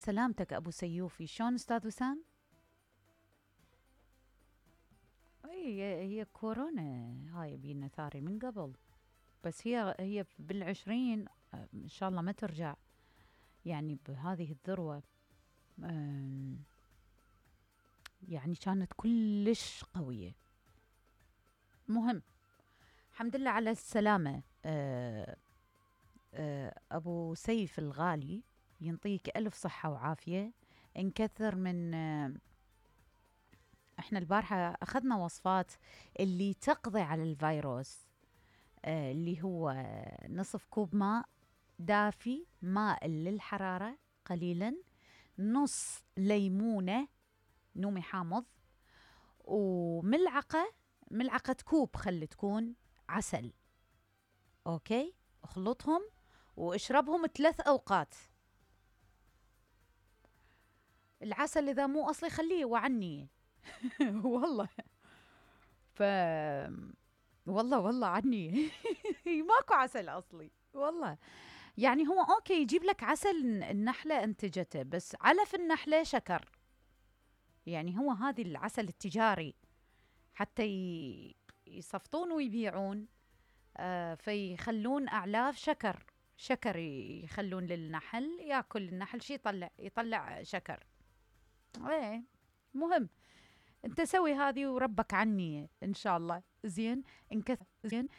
سلامتك أبو سيوفي، شلون أستاذ وسام؟ هي كورونا هاي بينا ثاري من قبل، بس هي بالعشرين، إن شاء الله ما ترجع يعني بهذه الذروة. يعني كانت كلش قوية. مهم، الحمد لله على السلامة. أبو سيف الغالي، ينطيك ألف صحة وعافية. نكثر من احنا البارحة أخذنا وصفات اللي تقضي على الفيروس. اللي هو نصف كوب ماء دافي مائل للحرارة قليلا، نص ليمونة نومي حامض، ملعقة كوب خلي تكون عسل. أوكي، اخلطهم واشربهم 3 أوقات. العسل إذا مو أصلي خليه وعني. والله ف والله عني. ماكو عسل أصلي والله. يعني هو أوكي يجيب لك عسل النحلة أنتجته، بس علف النحلة شكر. يعني هو هذه العسل التجاري حتى يصفطون ويبيعون، فيخلون أعلاف شكر يخلون للنحل ياكل. النحل شي يطلع شكر. ايه مهم، انت سوي هذه وربك عني ان شاء الله. زين،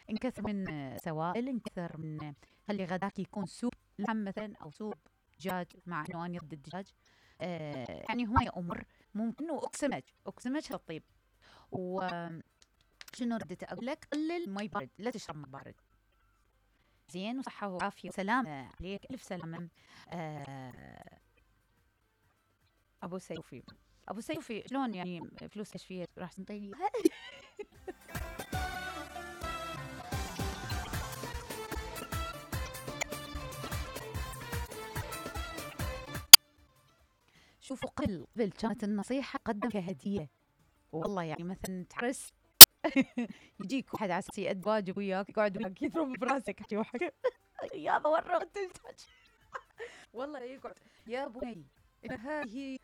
انكثر من سوائل، انكثر من خلي غداك يكون سوب لحم مثلا او سوب دجاج، مع انه انا ضد الدجاج. يعني هواي امور ممكن. واكسمج الطيب. وشنو ردت اقول لك؟ قلل مي بارد، لا تشرب مي بارد. زين، وصحه وعافيه وسلامه عليك، الف سلامه. ابو سيوفي شلون يعني فلوس كشفيه راح تنطيني؟ شوفوا، قبل كانت النصيحه قدم كهديه. والله يعني مثلا تعرس يجيك واحد عسى يأدي واجب وياك، يقعد وياك يضرب براسك يا ورغت التاج. والله يقعد يا بني، هذه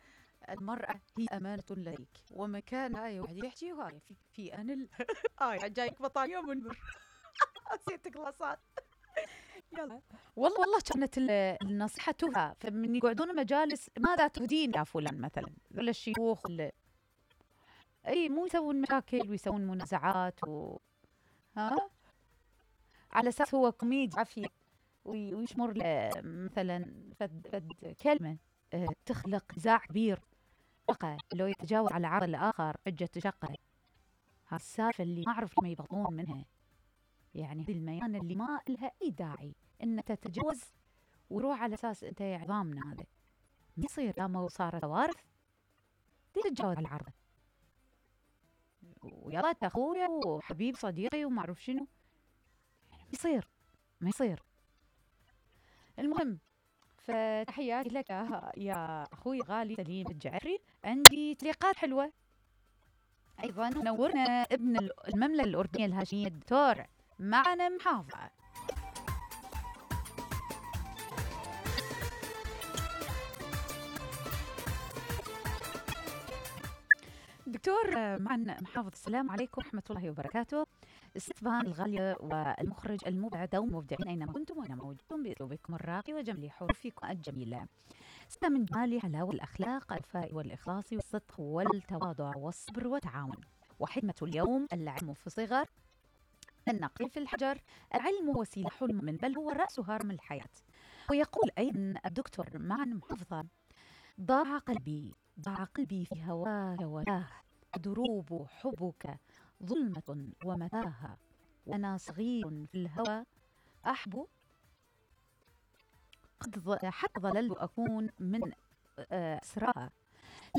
المرأة هي أمانة لديك، ومكان هاي واحد يحكي وهاي في أنا هاي جايك بطانية منبر. نسيت قلاصات. يلا والله كانت النصيحة تهى، فمن يقعدون مجالس ماذا تهدين يا فلان مثلا، ولا الشيوخ ولا اي، مو يسوون مشاكل ويسوون منازعات ها، على اساس هو كوميدي عافية ويشمر له مثلا فد كلمة تخلق نزاع كبير، لو يتجاوز على عرض الآخر حجة شقة. هالسالفة اللي ما أعرف ما يبغون منها. يعني هذه الميانة اللي ما لها أي داعي إن تتجاوز وروح على أساس أنت عظامنا. هذا ما يصير، لما صارت كوارث تتجاوز على العرض. ويلا أخويا وحبيب صديقي وما أعرف شنو، ما يصير. المهم، فتحياتي لك يا أخوي غالي سليم الجعفري. عندي تعليقات حلوة أيضا. نورنا ابن المملكة الأردنية الهاشمية الدكتور معنا محافظة. دكتور معنا محافظ، السلام عليكم ورحمة الله وبركاته. استفهام الغالية والمخرج المبدع دوم مبدعين أينما كنتم وأنا موجودون بأسلوبكم الراقي وجميل حروفكم الجميلة. من جمال حلاوة الأخلاق، الوفاء والإخلاص والصدق والتواضع والصبر والتعاون. وحكمة اليوم العلم في الصغر، النقل في الحجر. العلم هو سلاح المؤمن، بل هو رأس هرم الحياة. ويقول أيضا الدكتور معنا محافظة: ضاع قلبي في هواك ولاه، دروب حبك ظلمة ومتاهة، وأنا صغير في الهوى أحب، حتى ظللت أكون من أسراها.